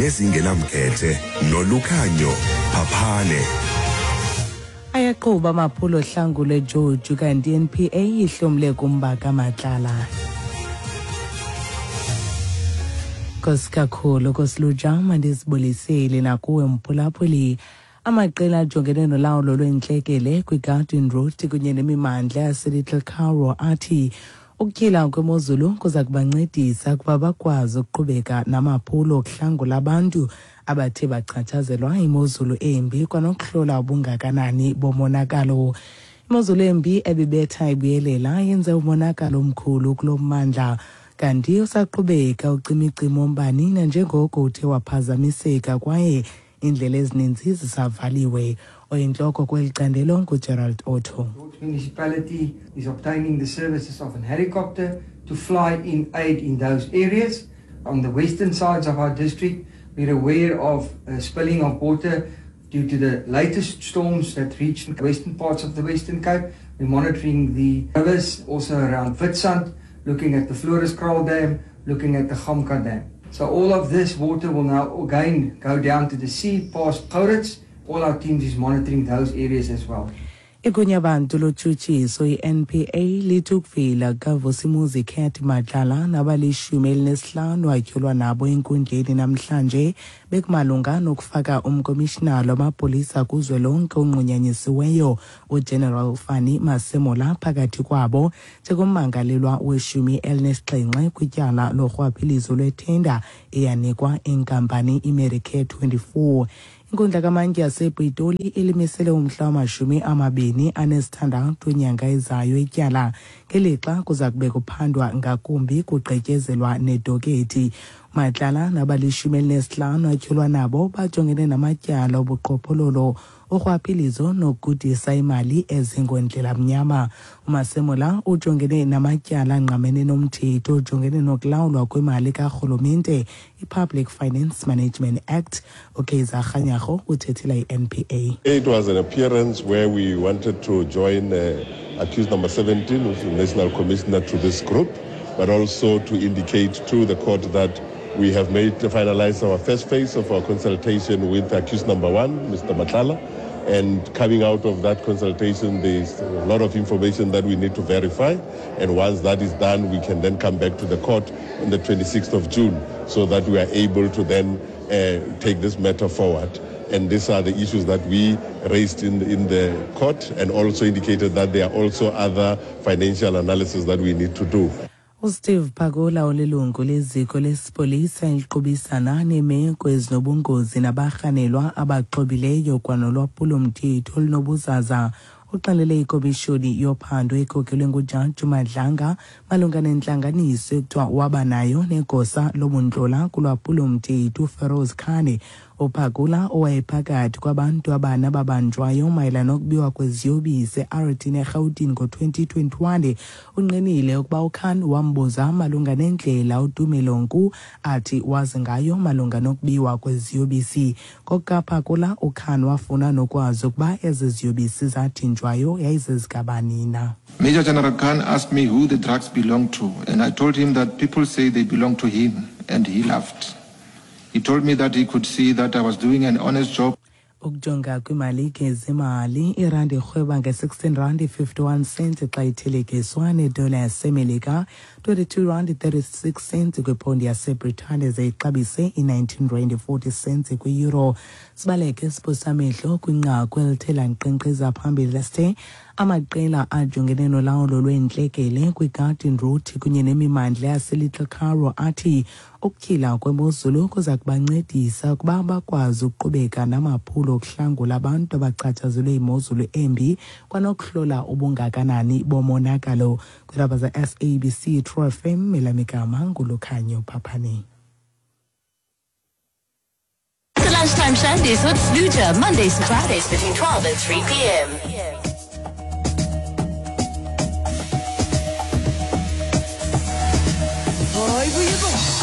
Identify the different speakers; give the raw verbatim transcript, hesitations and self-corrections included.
Speaker 1: Nezingenamkhethe noLukhanyo Phaphane.
Speaker 2: Ayaqhuba amaphulo ohlangulo eJoju, kanti i-N P A ihlomle kumba kaMatlala. Nkosi kakhulu kosiluja, mandizibulisele nakuwe mphulaphuli. Amaqela ajongene nolawulo lweentlekele kwiGarden Route kunye nemimandla yaseLittle Karoo athi ukutyhila kwemozulu kuza kubancedisa ukuba bakwazi ukuqhubeka namaphulo okuhlangula abantu abathe bachatshazelwa imozulu embi kwanokuhlola ubungakanani bomonakalo. Imozulu embi ebibetha ibuyelela yenze umonakalo omkhulu kulo mmandla, kanti usaqhubeka ucimicimi wombane nanjengoko uthe waphazamiseka kwaye iindlela ezininzi zisavaliwe. Oyintloko kweli candelo nguGerald Otto.
Speaker 3: Municipality is obtaining the services of an helicopter to fly in aid in those areas. On the western sides of our district, we're aware of uh, spilling of water due to the latest storms that reached western parts of the Western Cape. We're monitoring the rivers also around Witsand, looking at the Floriskraal Dam, looking at the Gamka Dam. So all of this water will now again go down to the sea past Gouritz. All our teams is monitoring those areas as well.
Speaker 2: Igunyabantu lotshutshiso i-N P A lithi ukuvela kukaVusimuzi Cat Matlala nabalishumi elinesihlanu atyholwa nabo enkundleni namhlanje bekumalunga nokufaka umkomishinala wamapolisa kuzwelonke onqunyanyisiweyo uGeneral Fannie Masemola phakathi kwabo njengommangalelwa weshumi elinesixhenxe kwityala lorhwaphilizo lwethenda eyanikwa inkampani iMedicare twenty-four. Inkundla kamantyi yasePitoli ilimisele umhla wamashumi amabini anesithandathu inyanga ezayo ityala, ngelixa kuza kube kuphandwa ngakumbi kugqityezelwa nedokethi. Matlala nabalishumi elinesihlanu atyholwa nabo bajongene namatyala obuqhophololo, urhwaphilizo nokugudisa imali ezingondlela mnyama. UMasemola ujongene namatyala angqamene nomthetho ojongene nokulawulwa kwemali karhulumente, i-Public Finance Management Act. UKaizer Kganyago uthethela i-N P A.
Speaker 4: It was an appearance where we wanted to join uh, accused number seventeen, who's the National Commissioner, to this group, but also to indicate to the court that we have made finalized our first phase of our consultation with accused number one, Mister Matlala. And coming out of that consultation, there's a lot of information that we need to verify. And once that is done, we can then come back to the court on the twenty-sixth of June so that we are able to then uh, take this matter forward. And these are the issues that we raised in, in the court and also indicated that there are also other financial analysis that we need to do.
Speaker 2: USteve Pakula olilungu leziko lesipolisa eliqubisana neemeko ezinobungozi nabarhanelwa abaxhobileyo kwanolwaphulomthetho olunobuzaza uxelele ikomishoni yophando ekhokelwe ngujaji Madlanga malunga nentlanganiso ekuthiwa waba nayo negosa lobuntlola kulwaphulomthetho uFeroz Khan. UPakula, owayephakathi kwabantu abane ababanjwayo mayelana nokubiwa kweziyobisi eAeroton eRhawutini ngo-twenty twenty-one, ungqinile ukuba uKhan wambuza malunga nendlela uTumelo Nku athi wazi ngayo malunga nokubiwa kweziyobisi. NgokukaPakula, uKhan wafuna nokwazi ukuba ezi ziyobisi zathinjwayo yayizezikabani na.
Speaker 5: Major General Khan asked me who the drugs belonged to, and I told him that people say they belong to him, and he laughed. He told me that he could see that I was doing an honest job.
Speaker 2: Ukujonga kwimalike zemali, irandi irhweba nge-sixteen rand fifty-one cents xa ithelekiswa nedola yaseMelika, twenty-two rand thirty-six cents kwiphondi yaseBritane, ze ixabise i-nineteen rand forty cents kwi-euro. Sibaleke siphosa amehlo kwinqaku elithe lankqenkqeza phambili lesithe amaqela ajongene nolawulo lweentlekele kwiGarden Route kunye nemimandla yaseLittle Karoo athi ukutyhila kwemozulu kuza kubancedisa ukuba bakwazi ukuqhubeka namaphulo okuhlangula abantu abachatshazelwe yimozulu embi kwanokuhlola ubungakanani bomonakalo. Kwiindaba ze-S A B C True F M, elamigama nguLukhanyo Phaphane.
Speaker 6: The Lunchtime Shandies with Luja, Mondays to Fridays between twelve and three p m.
Speaker 7: Hayi, buye bo.